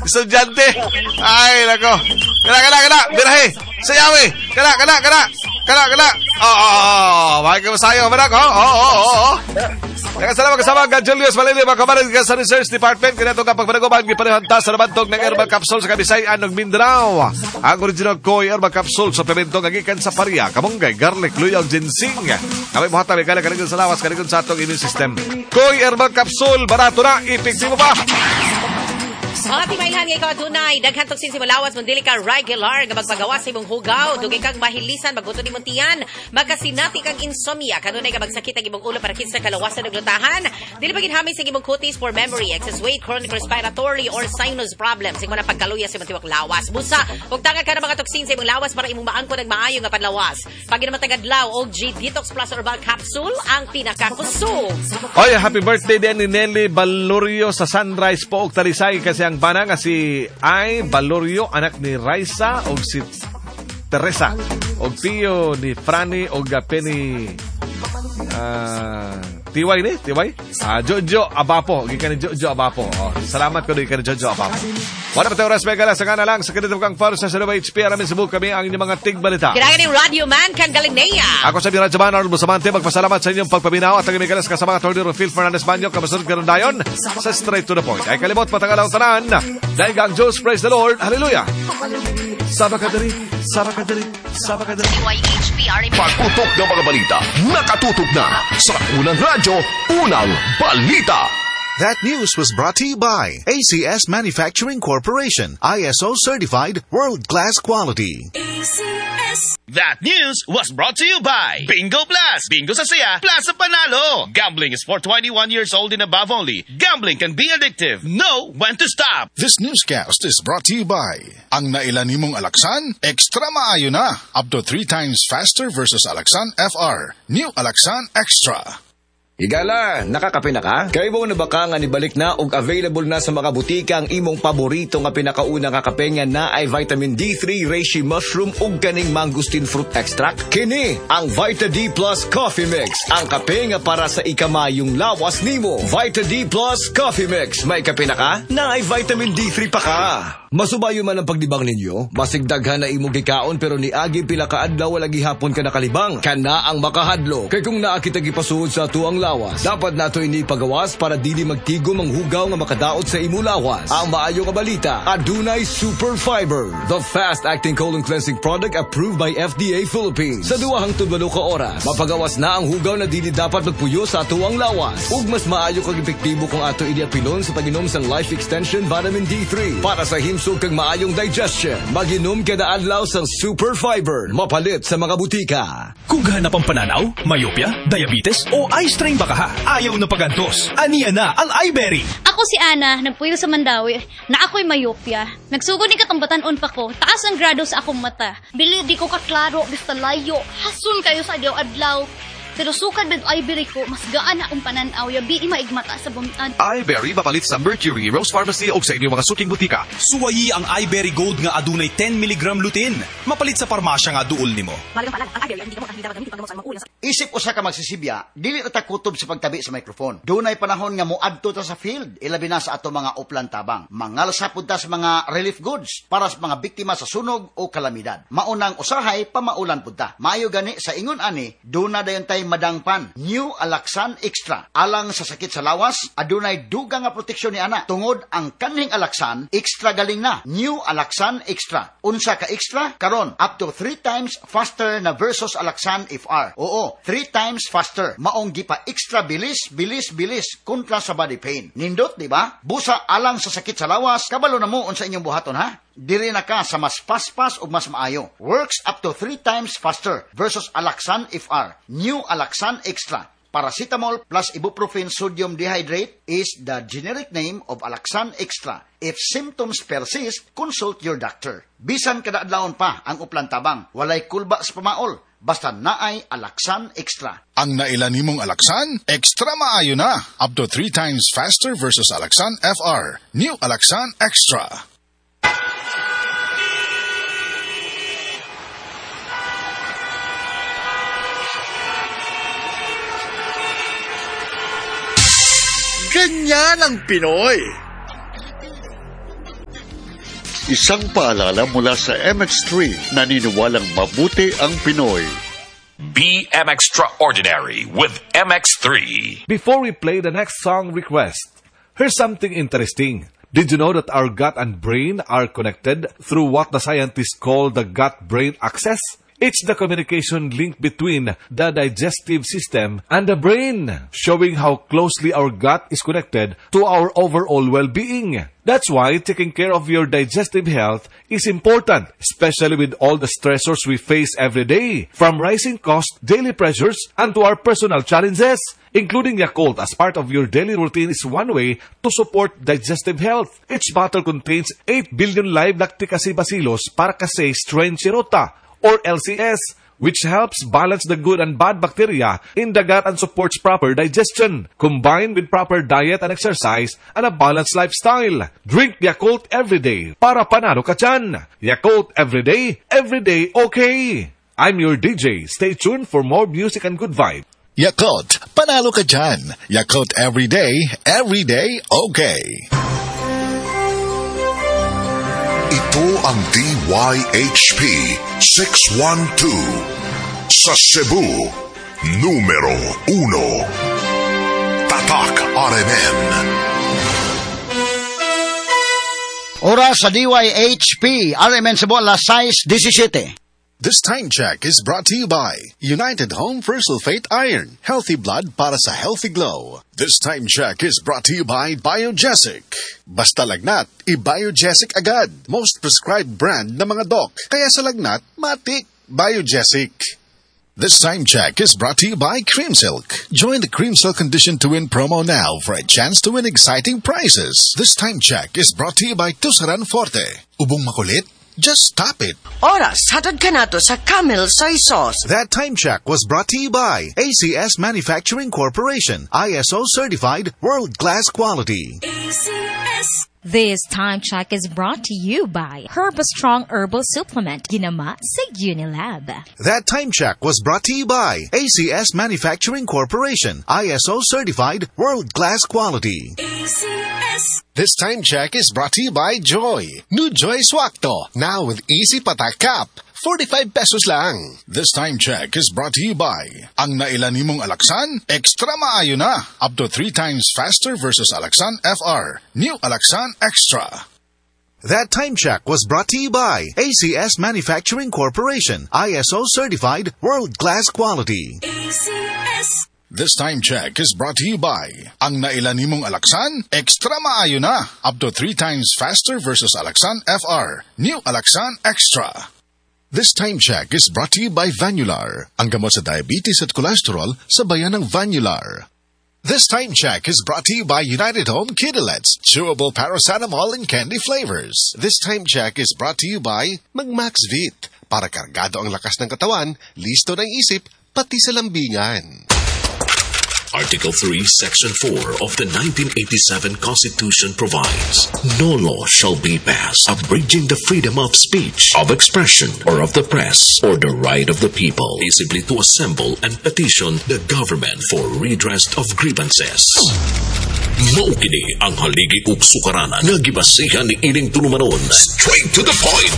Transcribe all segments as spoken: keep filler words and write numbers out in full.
Estudyante. Ay, nako. Kana, kana, kana. Birahe. Sayawi. Kana, kana, kana. Kana, kana. Oh, oh, oh. Bakit ka masayo? Manak, oh, oh, oh, oh. Nakasalamat kasama ang Julius Malili, mga kamarin sa Research Department. Kaya itong kapagpanaguman, giparehanta sa nabantog ng herbal capsule sa Kabisayan ng Mindanao. Ang original Koi herbal capsule, suplemento nga gikan sa paria, kamunggay, garlic, luya, ug ginseng. Kami muhatag, may kaligon sa lawas, kaligon sa atong immune system. Koi herbal capsule, barato na, epektibo pa! Mga timailhan nga ikaw adunay daghan toksin sa imong lawas, mundili ka regular nga magpagawas sa imong hugaw, dugay kang mahilisan, magbuto nimong tiyan, magkasinati kang insomnia, kanunay ka magsakit ang imong ulo para sa kalawasan ug lutahan, dili pa ginhamit sa imong kutis for memory, excess weight, chronic respiratory or sinus problems, imo na pagkaluya sa imong tiwak lawas. Busa, ug tangag ka ng mga toksin sa imong lawas para imong maangkon ang maayo nga panlawas. Pag ginamatag adlaw og G Detox Plus Herbal Capsule ang pinakakusog. Oy, happy birthday din ni Nelly Balorio sa Sunrise Pook Talisay kasi ang bana nga si Ay Balorio, anak ni Raisa og si Teresa og tiyo ni Franny og Penny uh, Tiway ni Tiway ah, Jojo Abapo, gikan ni Jojo Abapo. Oh, salamat ko gikan ni Jojo Abapo. Wala pa tayo oras mega sa kana lang sa kanito kang faro sa Cebu H P Aramin Cebu kami ang inyong mga tigbalita. Kailangan ni Radio Man kang Galinea. Ako sa Radyo Man Arnold Bustamante magpasalamat sa inyong pagpaminaw at ang imigalas kasama Attorney Rufil Fernandez Banyo kamasod karon dayon sa Straight to the Point. Ay kalimot patangalaw tanan. Dahil ang Diyos, praise the Lord. Hallelujah. Saba ka diri, saba ka diri, saba ka diri. Y H P R M. Pagputok ng mga balita, nakatutok na sa unang radyo, unang balita. That news was brought to you by A C S Manufacturing Corporation, I S O certified, world-class quality. A C S. That news was brought to you by Bingo Plus. Bingo sa saya, plus sa panalo. Gambling is for twenty-one years old and above only. Gambling can be addictive. Know when to stop. This newscast is brought to you by Ang nailan nimong Alaxan, extra maayo na. Up to three times faster versus Alaxan F R. New Alaxan Extra. Higala, nakakape na ka? Kay mo na ba ka nga nibalik na og available na sa mga butika ang imong paborito nga pinakauna nga kape nga na ay vitamin D three reishi mushroom ug kaning mangosteen fruit extract? Kini ang Vita D Plus Coffee Mix, ang kape nga para sa ikamayong lawas nimo. Vita D Plus Coffee Mix, may kape na ka? Na ay vitamin D three pa ka. Masubayo man ang pagdibang ninyo, masigdaghan na imong gikaon pero niagi pila ka adlaw wala gihapon ka nakalibang. Kana ang makahadlo. Kay kung naa kita gipasuod sa tuang lawas, dapat nato ini pagawas para dili magtigom ang hugaw nga makadaot sa imong lawas. Ang maayo nga balita, adunay Super Fiber, the fast-acting colon cleansing product approved by F D A Philippines. Sa duha hangtod walo ka oras, mapagawas na ang hugaw na dili dapat magpuyo sa tuang lawas. Ug mas maayo kag epektibo kung ato ini apilon sa pag-inom sang Life Extension Vitamin D three para sa himsog kag maayong digestion. Maginom kada adlaw sang Super Fiber. Mapalit sa mga butika. Kung hanap ang pananaw, myopia, diabetes o eye strain baka ha, ayaw na pagantos. Aniya na ang iBerry. Ako si Ana, nagpuyo sa Mandawi, na ako'y myopia. Nagsugod ni katong batan-on pa ko, taas ang grado sa akong mata. Bili di ko kaklaro, basta layo, hasun kayo sa adlaw-adlaw. Pero sukad med iBerry ko, mas gaan akong pananaw, yabi maigmata sa bumian. iBerry mapalit sa Mercury, Rose Pharmacy o sa inyong mga suking butika. Suwayi ang iBerry Gold nga adunay ten milligram lutein. Mapalit sa parmasya nga duol nimo. Isip usa ka magsisibya, dili ra ta kutob sa pagtabi sa microphone. Dunay panahon nga moadto ta sa field, ilabi na sa ato mga uplan tabang. Mangalsa pud ta sa mga relief goods para sa mga biktima sa sunog o kalamidad. Maunang usahay pamaulan pud ta. Maayo gani sa ingon ani, duna dayon tay madangpan. New Alaxan Extra. Alang sa sakit sa lawas, adunay dugang nga proteksyon ni ana. Tungod ang kanhing Alaxan, extra galing na. New Alaxan Extra. Unsa ka extra? Karon, up to three times faster na versus Alaxan F R. Oo, three times faster. Maong gipa extra bilis, bilis, bilis kontra sa body pain. Nindot, di ba? Busa alang sa sakit sa lawas, kabalo na mo unsa inyong buhaton ha? Diri na ka sa mas paspas o mas maayo. Works up to three times faster versus Alaxan F R. New Alaxan Extra. Paracetamol plus ibuprofen sodium dehydrate is the generic name of Alaxan Extra. If symptoms persist, consult your doctor. Bisan kada adlawon pa ang uplan tabang, walay kulba sa pamaol, basta naay Alaxan Extra. Ang nailan nimong Alaxan, extra maayo na. Up to three times faster versus Alaxan F R. New Alaxan Extra. Ganyan ang Pinoy. Isang paalala mula sa M X three, naniniwalang mabuti ang Pinoy. Be M Extraordinary with M X three. Before we play the next song request, here's something interesting. Did you know that our gut and brain are connected through what the scientists call the gut-brain axis? It's the communication link between the digestive system and the brain, showing how closely our gut is connected to our overall well-being. That's why taking care of your digestive health is important, especially with all the stressors we face every day, from rising costs, daily pressures, and to our personal challenges. Including Yakult as part of your daily routine is one way to support digestive health. Each bottle contains eight billion live Lacticaseibacillus paracasei strain Shirota, or L C S, which helps balance the good and bad bacteria in the gut and supports proper digestion, combined with proper diet and exercise and a balanced lifestyle. Drink Yakult every day para panalo ka dyan. Yakult every day, every day okay. I'm your D J. Stay tuned for more music and good vibe. Yakult, panalo ka dyan. Yakult every day, every day okay. Ito ang D Y H P six one two sa Cebu, numero uno. Tatak R M N. Oras sa D Y H P, R M N Cebu, alas sais disisiete. This time check is brought to you by United Home Sulfate Iron. Healthy blood para sa healthy glow. This time check is brought to you by Biogesic. Basta lagnat, i-Biogesic agad. Most prescribed brand ng mga doc. Kaya sa lagnat, matik, Biogesic. This time check is brought to you by Cream Silk. Join the Cream Silk Condition to Win promo now for a chance to win exciting prizes. This time check is brought to you by Tuseran Forte. Ubong makulit? Just stop it. Oras, hatod kanato sa Camel Soy Sauce. That time check was brought to you by A C S Manufacturing Corporation, I S O certified world-class quality. A C S. This time check is brought to you by Herbastrong Herbal Supplement, Ginama sa Unilab. That time check was brought to you by A C S Manufacturing Corporation, I S O certified world-class quality. A C S. This time check is brought to you by Joy. New Joy Swakto, now with easy patak cap. forty-five pesos lang. This time check is brought to you by ang nailan nimong Alaxan, extra maayo na. Up to three times faster versus Alaxan F R. New Alaxan Extra. That time check was brought to you by A C S Manufacturing Corporation, I S O certified world-class quality. A C S. This time check is brought to you by ang nailan nimong Alaxan, extra maayo na. Up to three times faster versus Alaxan F R. New Alaxan Extra. This time check is brought to you by Vanular, ang gamot sa diabetes at cholesterol sa bayan ng Vanular. This time check is brought to you by United Home Kidilets, chewable paracetamol in candy flavors. This time check is brought to you by Magmaxvit, para kargado ang lakas ng katawan, listo ng isip, pati sa lambingan. Article three, Section four of the nineteen eighty-seven Constitution provides, "No law shall be passed abridging the freedom of speech, of expression, or of the press, or the right of the people peaceably to assemble and petition the government for redress of grievances." Mao kini ang haligi ug sukaranan nga gibasihan ni ining tulumanon. Straight to the point.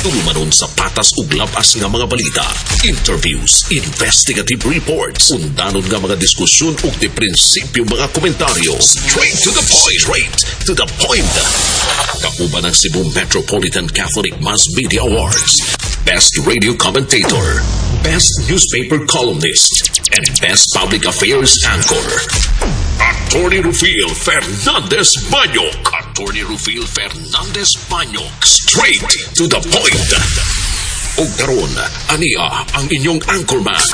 Tulumanon sa patas ug labas nga mga balita, interviews, investigative reports, undanon nga mga diskusyon ug di prinsipyo mga komentaryo. Straight to the point. Straight to the point. Kauban ang Cebu Metropolitan Catholic Mass Media Awards. Best Radio Commentator, Best Newspaper Columnist, and Best Public Affairs Anchor. Attorney Rufil Fernandez Banyok. Attorney Rufil Fernandez Banyok. Straight to the point. Ug karon, ania ang inyong anchorman.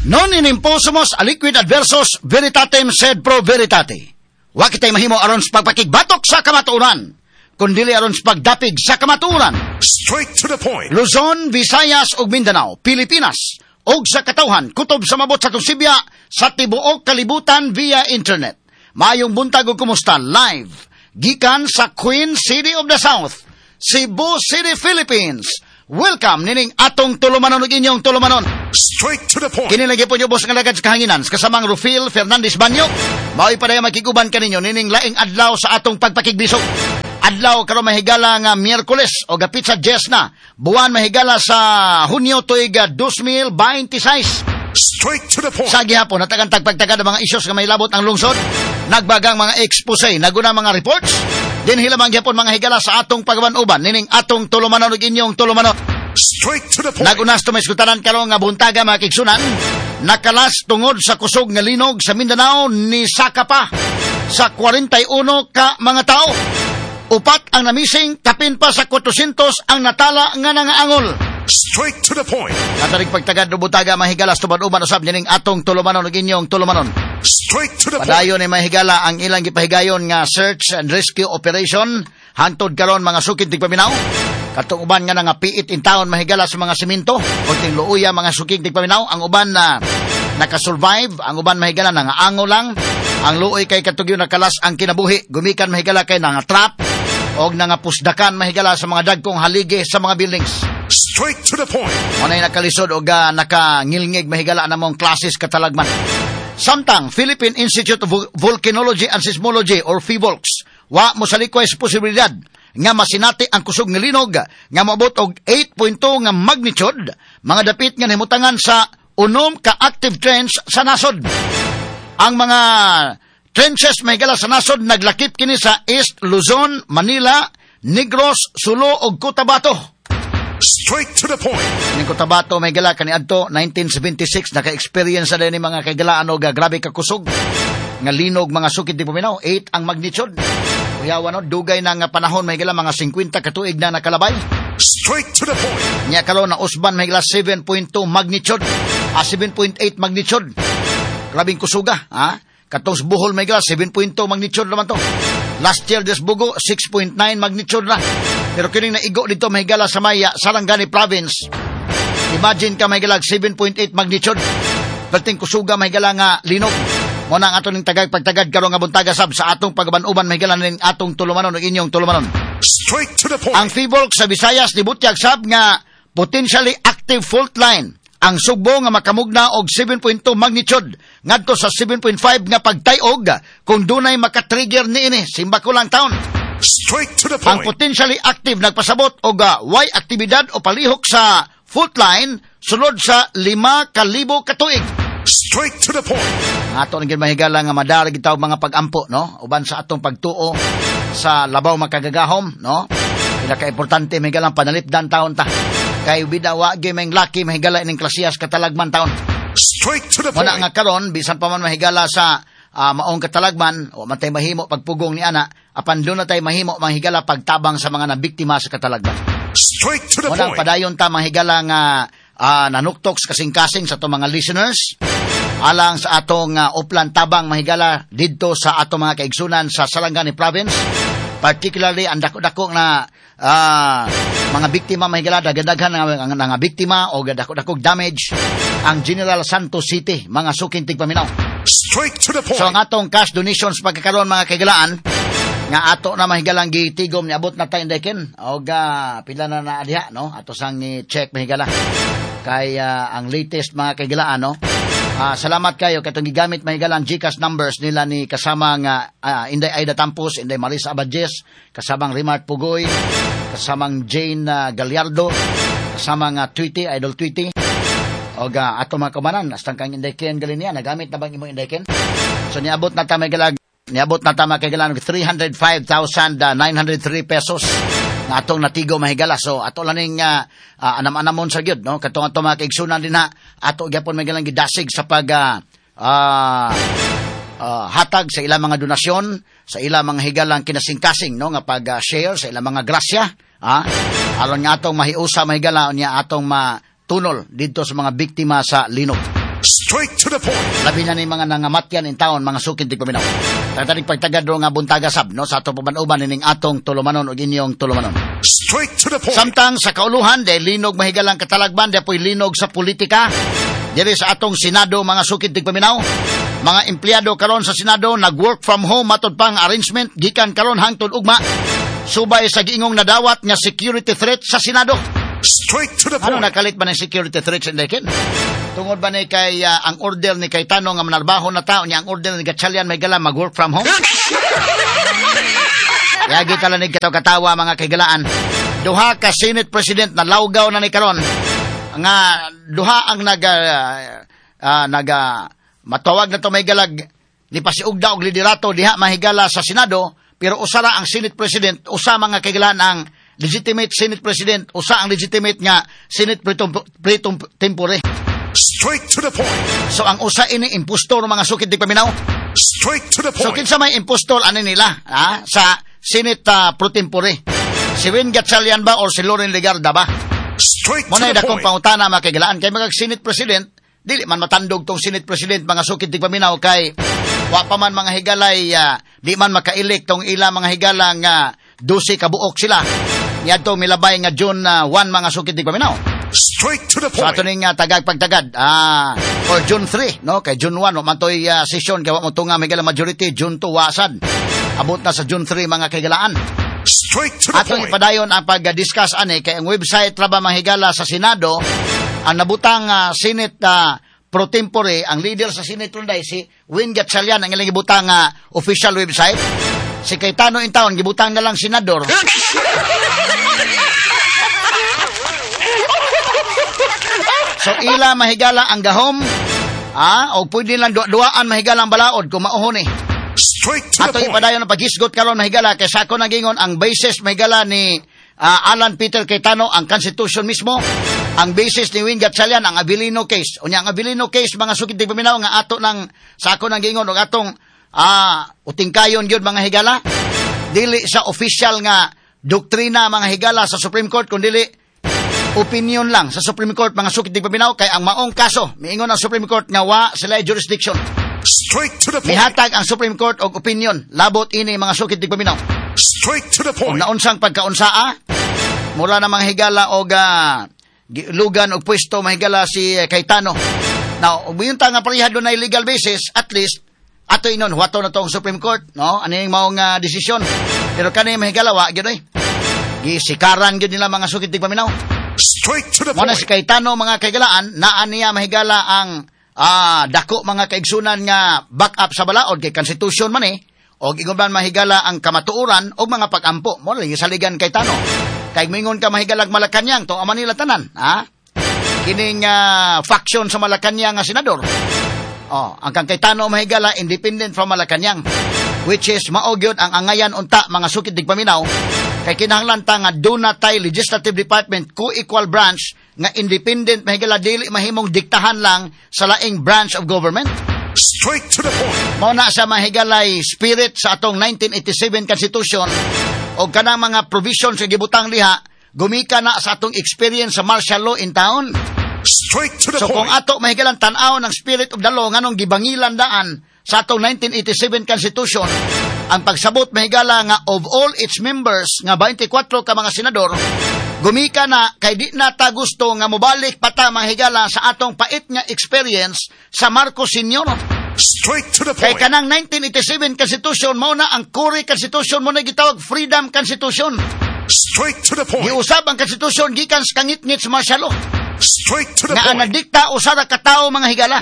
Non in imposumus aliquid adversus veritatem sed pro veritate. Wa kitay mahimo aron sa pagpakigbatok sa kamatuoran, kundili aron sa pagdapig sa kamatuoran. Straight to the point. Luzon, Visayas ug Mindanao, Pilipinas ug sa katawhan kutob sa mabot sa Tusibya sa tibuok kalibutan via internet. Maayong buntag ug kumusta live gikan sa Queen City of the South, Cebu City, Philippines. Welcome nining atong tulumanon ug inyong tulumanon. Straight to the point. Kini lagi po ubos nga lagad sa kahanginan kasamang Rufil Fernandez Banyo. Mao'y padayong makiguban kaninyo nining laing adlaw sa atong pagpakigbisog. Adlaw karon mahigala nga Miyerkules o gapitsa diyes na. Buwan mahigala sa Hunyo tuig two thousand twenty-six. Straight to the point. Sa gihapon, natagan tagpagtagad ang mga isyos nga mahilabot ang lungsod. Nagbagang mga expose, naguna mga reports. Dinhi lamang gihapon, mga higala, sa atong pagaban-uban nining atong tulumanon ug inyong tulumanon. Straight to the point. Nagunas to may iskutanan karon nga buntaga, mga kaigsunan. Nakalas tungod sa kusog nga linog sa Mindanao ni saka pa sa kwarenta y uno ka mga tao. Upat ang namising, kapin pa sa kuwatrosyentos ang natala nga nangaangol. Straight to the point. Katarig pagtagad no buntaga, mahigala, tubad-uban usab nining atong tulumanon ug inyong tulumanon. Straight to the point. Padayon ni, mahigala, ang ilang gipahigayon nga search and rescue operation hantod karon, mga sukid tigpaminaw. Katong uban nga nga piit in town, mahigala, sa mga simento o tingluoya, mga sukig tigpaminaw, ang uban na nakasurvive, ang uban, mahigala, nangaango lang. Ang luoy kay katugyo nakalas ang kinabuhi gumikan, mahigala, kay nga trap og nangapusdakan, mahigala, sa mga dagkong haligi sa mga buildings. Straight to the point. Manay nakalisod og uh, nakangilngig, mahigala, namong klases katalagman. Samtang Philippine Institute of Volcanology and Seismology or PHIVOLCS wa mosalikway sa posibilidad nga masinati ang kusog nga linog nga moabot og eight point two nga magnitude, mga dapit nga nahimutangan sa unom ka active trench sa nasod. Ang mga trenches, mahigala, sa nasod naglakip kini sa East Luzon, Manila, Negros, Sulu ug Cotabato. Straight to the point. Ning Cotabato, mahigala, kaniadto nineteen seventy-six naka-experience na din ni mga kaigalaan og grabe ka kusog nga linog, mga sukid tigpaminaw, eight ang magnitude. Kuyawa no, dugay na nga panahon, mahigala, mga singkwenta ka tuig na nakalabay. Straight to the point. Nya karon na usban, mahigala, seven point two magnitude, ah, seven point eight magnitude. Grabing kusuga, ha? Katong sa Bohol, mahigala, seven point two magnitude naman to. Last year des Bogo six point nine magnitude na. Pero kining naigo dito, mahigala, sa Maya, Sarangani Province. Imagine ka, mahigala, seven point eight magnitude. Perting kusuga, mahigala, nga linog. Mo na ang ato ning tagag pagtagad karon nga buntaga sab sa atong pagaban-uban, mahigala, ning atong tulumanon ug inyong tulumanon. Straight to the point. Ang PHIVOLCS sa Visayas nibutyag sab nga potentially active fault line ang Sugbo nga makamugna og seven point two magnitude ngadto sa seven point five nga pagtayog kung dunay makatrigger niini. Simba ko lang taon. Straight to the Ang point. potentially active nagpasabot og uh, way aktibidad o palihok sa fault line sulod sa lima ka libo ka tuig. Straight to the point. Ato nang mahigala nga madara gitaw mga pag-ampo, no, uban sa atong pagtuo sa labaw makagagahom, no. Pinaka-importante, mahigala, panalipdan taon ta. Kay bida wa gyud may laki, mahigala, ining klasiyas katalagman taon. Straight to the Muna point. nga karon bisan pa man, mahigala, sa ah, maong katalagman, wa man tay mahimo pagpugong ni ana, apan doon na tay mahimo, mahigala, pagtabang sa mga nabiktima sa katalagman. Straight to the Muna ang point. padayon ta, mahigala, nga ah, nanuktok sa kasing-kasing sa atong mga listeners alang sa atong uh, uplan tabang, mahigala, didto sa atong mga kaigsunan sa Sarangani Province, particularly ang dako-dako na ah, mga biktima, mahigala, daghan-daghan nga nga, nga biktima o dako-dako damage ang General Santos City, mga suking tigpaminaw. Straight to the point. So ang atong cash donations pagkakaroon, mga kaigalaan, nga ato na, mahigalang, gitigom, niabot na tayo deken og uh, pila na na diha, no, ato sang ni-check, mahigala, kay ah, ang latest, mga kaigalaan, no. Ah, salamat kayo katong gigamit, mahigala, ang GCash numbers nila ni kasamang ah, ah, Inday Aida Tampos, Inday Marisa Abadjes, kasamang Rimart Pugoy, kasamang Jane ah, Gallardo, kasamang uh, Tweety, Idol Tweety, og uh, ato mga kaubanan, hastang kang Inday Ken Galinia, nagamit na bang imong Inday Ken? So niabot na ta, mahigala, niabot na ta, mga kaigalaan, three hundred five thousand nine hundred three pesos nga atong natigo, mahigala. So ato lang ning uh, uh, anam-anamon sa gyud, no, katong ato mga kaigsunan din ha, ato gyapon, mahigalang, gidasig sa pag ah, ah, ah, hatag sa ilang mga donasyon, sa ilang mga higalang kinasingkasing, no, nga pag-share sa ilang mga grasya, ah, aron nga atong mahiusa, mahigala, unya atong matunol didto sa mga biktima sa linog. Straight to the point. Labi na ni mga nangamatyan in taon, mga sukid tigpaminaw. Tatanig pagtagad ro nga buntaga sab, no, sa atong paban-uban nining atong tulumanon ug inyong tulumanon. Straight to the point. Samtang sa kauluhan, de linog, mahigalang, katalagman, de po'y linog sa politika. Diri sa atong Senado, mga sukid tigpaminaw, mga empleyado karon sa Senado nag-work from home matod pang arrangement gikan karon hangtod ugma. Subay sa giingong nadawat nga security threat sa Senado. Straight to the Ano point. nakalit ba ng security threat sa Indekin? Tungod ba ni kay ah, ang order ni Cayetano nga manarbaho na tao niya, ang order ni Gatchalian, mahigala, mag-work from home? Yagi talanig kataw-katawa mga kahigalaan. Duha ka Senate President na lawgaw na ni karon. Nga duha ang naga uh, naga matawag na to may galag ni pasiugda og liderato diha mahigala sa Senado, pero usara ang Senate President, usa mga kahigalaan ang legitimate Senate President, usa ang legitimate nga Senate pro tempore. Straight to the point. So ang usa ini impostor mga sukid di paminaw. Straight to the point. So kinsa may impostor ani nila ha? Sa Senate uh, pro tempore? Si Win Gatchalian ba or si Loren Legarda ba? Straight to Muna the dakong point. pangutana mga kahigalaan kay mga Senate President, dili man matandog tong Senate President mga sukid di paminaw kay wa pa man mga higalay uh, di man maka-elect tong ila mga higala nga dose ka buok sila. Niadto milabay nga June uh, one mga sukid di paminaw. Straight to the So point. ato ning uh, tagag pagtagad ah or June three no kay June one wa man toy uh, session kay wa mo tunga may majority June two wasad. Abot na sa June three mga kahigalaan. Straight to the Atong point. ipadayon ang pag-discuss ani kay ang website ra ba mahigala sa Senado ang nabutang uh, Senate uh, pro tempore ang leader sa Senate runday si Win Gatchalian ang ilang gibutang uh, official website. Si Cayetano in town gibutang na lang senador. So ila mahigala ang gahom, ah, o pwede lang duwa-duaan mahigala ang balaod kung mauhon eh. Straight to the Ato point. ipadayon ang paghisgot karon mahigala kay sa ako nagingon ang basis mahigala ni uh, Alan Peter Cayetano ang Constitution mismo, ang basis ni Win Gatchalian ang Avelino case. Unya ang Avelino case mga sukid di paminaw nga ato nang sa ako nagingon og atong ah, utingkayon gyud mga higala. Dili sa official nga doktrina mga higala sa Supreme Court kun dili opinion lang sa Supreme Court mga sukid di paminaw kay ang maong kaso miingon ang Supreme Court nga wa sila jurisdiction. Straight to the point. Mihatag ang Supreme Court og opinion labot ini mga sukid di paminaw. Straight to the Kung point. naunsang pagkaunsaa mura na mga higala og uh, lugan og pwesto mahigala si uh, Cayetano. Now, ug ta nga pareha dunay legal basis, at least ato inon huwato na to ang Supreme Court, no? Ano yung maong uh, desisyon. Pero kani mahigala wa gyud oy. Gisikaran gyud nila mga sukid di paminaw. Straight to the Muna point. si Cayetano mga kaigalaan, naa niya mahigala ang ah, dako mga kaigsunan nga back up sa balaod kay Constitution man eh. Og ingon man mahigala ang kamatuoran og mga pag-ampo. Mo lang saligan Cayetano. Kay mingon ka mahigalag Malacañang to ang Manila tanan, ha? Kining uh, faction sa Malacañang nga senador. Oh, ang kang Cayetano mahigala independent from Malacañang, which is mao gyud ang angayan unta mga sukid digpaminaw kay kinahanglan ta nga duna tay legislative department co-equal branch nga independent mahigala dili mahimong diktahan lang sa laing branch of government. Straight to the point. Mao na sa mahigalay spirit sa atong nineteen eighty-seven Constitution o kanang mga provisions sa gibutang liha gumika na sa atong experience sa martial law in town. Straight to the So point. kung ato mahigalang tan-aw ng spirit of the law nganong gibangilan daan sa atong nineteen eighty-seven Constitution, ang pagsabot mahigala nga of all its members nga twenty-four ka mga senador, gumika na kay di na ta gusto nga mobalik pa ta mahigala sa atong pait nga experience sa Marcos Senior. Straight to the Kay point. kanang nineteen eighty-seven Constitution mao na ang core Constitution, mo na gitawag Freedom Constitution. Straight to the point. Giusab ang Constitution gikan sa kangitngit sa martial law. Straight to the Nga ang point. nagdikta usa ra ka tawo mga higala.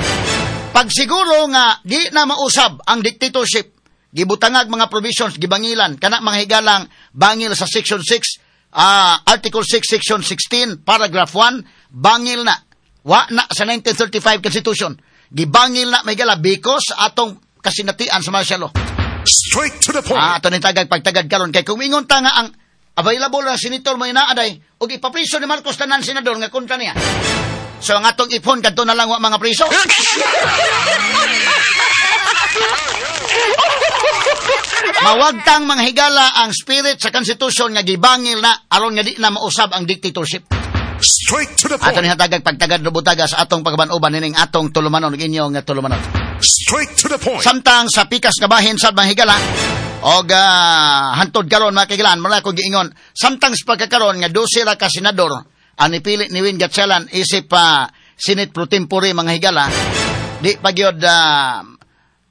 Pagsiguro nga di na mausab ang dictatorship, gibutangag mga provisions, gibangilan kana mga higalang bangil sa section six, uh, Article six Section sixteen paragraph one, bangil na. Wa na sa nineteen thirty-five Constitution. Gibangil na mga higala because atong kasinatian sa martial law. Straight to the point. Ah, ato ning tagag pagtagad karon kay kung ingon ta nga ang available na senator mo inaaday og ipapriso ni Marcos tanan senador nga kontra niya. So ang atong ipon kadto na lang wa mga priso. Mawagtang mga higala ang spirit sa Constitution nga gibangil na aron nga di na mausab ang dictatorship. Straight to the point. Ato ni hatagag pagtagad rubutaga sa atong pagkaban-uban nining atong tulumanon ug inyong tulumanon. Straight to the point. Samtang sa pikas nga bahin sa mga higala og uh, hantod karon mga kahigalaan, mura ko giingon samtang sa pagkakaron nga dose ra ka senador ang nipili ni Win Gatchalian isip uh, Senate pro tempore mga higala, di pa gyud uh,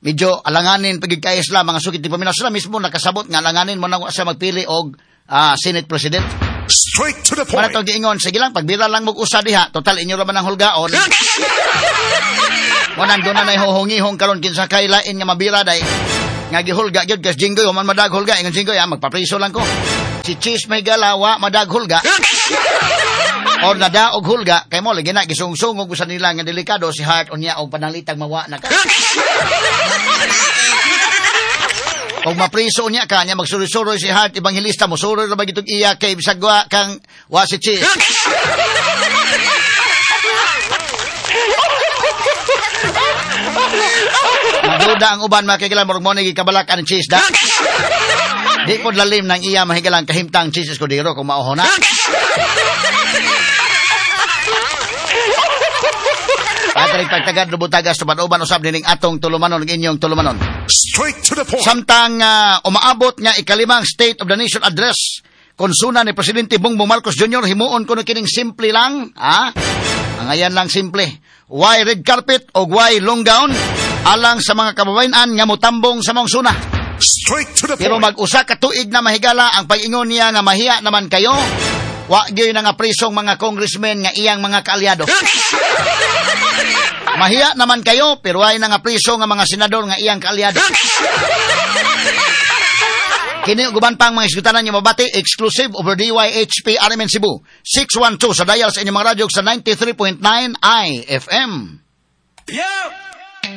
medyo alanganin pagid kay sila mga sukit di paminaw. Sila mismo nakasabot nga alanganin mo na siya magpili og uh, Senate President. Straight to the point. Wala tong giingon, sige lang pagbira lang mo usa diha, total inyo ra man ang hulgaon. Mo nang doon na huhungihong karon kinsa kay lain nga mabira day. Nga gihulga gyud kas Jinggoy human madag hulga ingon Jinggoy ah, magpapriso lang ko. Si Cheese mahigala wa madag hulga. Or nadaog hulga kay mo lagi na gisungsungog sa nila nga delikado si Heart unya og panalitang mawa na ka. Kung mapriso niya ka niya magsuroy-suroy si Heart Evangelista mosuroy ra ba gitog iya kay bisag wa kang wa si Cheese. Maduda ang uban mga kahigalan murag mo ni gikabalak ang Cheese da. Di pod lalim nang iya mahigalang kahimtang Cheese Escudero kung mauho na. Patrik pagtagad lubutagas tuban-uban usab nining atong tulumanon ug inyong tulumanon. Straight to the point. Samtang uh, umaabot nga ikalimang State of the Nation Address konsuna ni Presidente Bongbong Marcos Junior himuon kuno kining simple lang, ha? Ang ayan lang simple. Why red carpet o why long gown alang sa mga kababayan nga motambong sa maong suna. Straight to the Pero point. mag-usa ka tuig na mahigala ang pag-ingon niya nga mahiya naman kayo. Wa gyud na nga prisong mga congressmen nga iyang mga kaalyado. Mahiya naman kayo pero ay na nga priso nga mga senador nga iyang kaalyado. Kini ug uban pang mga isgutanan niyo mabati exclusive over D Y H P R M N Cebu six one two sa dial sa inyong mga radyo sa ninety-three point nine I F M. Yeah!